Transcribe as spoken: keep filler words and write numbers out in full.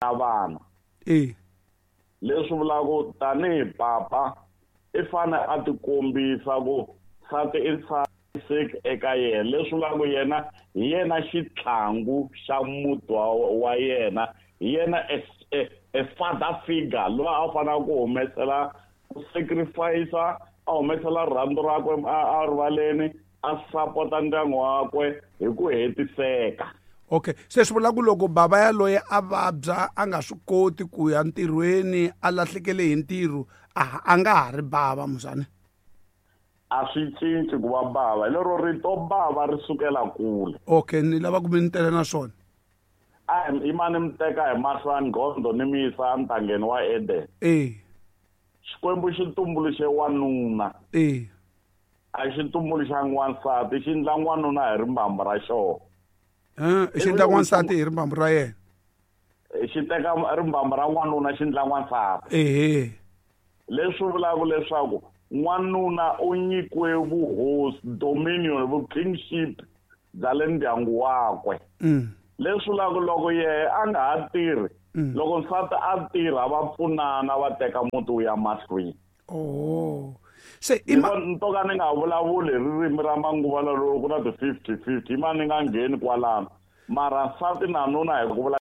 Na vana. E. Leswi vulaka tanihi papa i fane a tikombisa ku nsati i ntshamiseki eka yena, leswi vulaka yena hi yena xitlhangu xa muti wa, wa yena, hi yena a, a, a father figure loyi a faneleke ku humesela ku sacrifice, a humesela rirhandzu rakwe a rivaleni, a sapota ndyangu wakwe hi ku hetiseka. Okay, se swi vula ku loko bava yaloye a vabya, a nga swi koti ku ya ntirhweni, a lahlekele hi ntirho, a a nga ha ri bava muzani? A swi cinci ku va bava, hi lero rito bava ri sukela kule. Okay, ni lava ku mi ni tele na swona. A hi mani mi teka hi mahlo ya nghondo ni mi yisa entangeni wa Eden. E. Xikwembu xi tumbuluxe wanuna. E. A xi tumbuluxangi wansati, xi endla n'wanuna hi rimbambu ra xona. Xi endla n'wansati hi rimbambu ra yena. Xi teka rimbambu ra n'wanuna xi endla n'wansati. Ehe. Leswi vulaka leswaku n'wanuna u nyikiwe vuhosi, dominion, vu-kingship bya le ndyangu wakwe. Leswi vulaka loko yehe a nga ha tirhi, loko nsati a tirha va pfunana va teka muti wu ya mahlweni. Oh. Se i ni to ka ni nga vulavuli hi ririmi ra manguva lawa loko ku na ti fifty fifty, yima ni nga ngheni kwalano. Mara nsati na nuna hi ku vula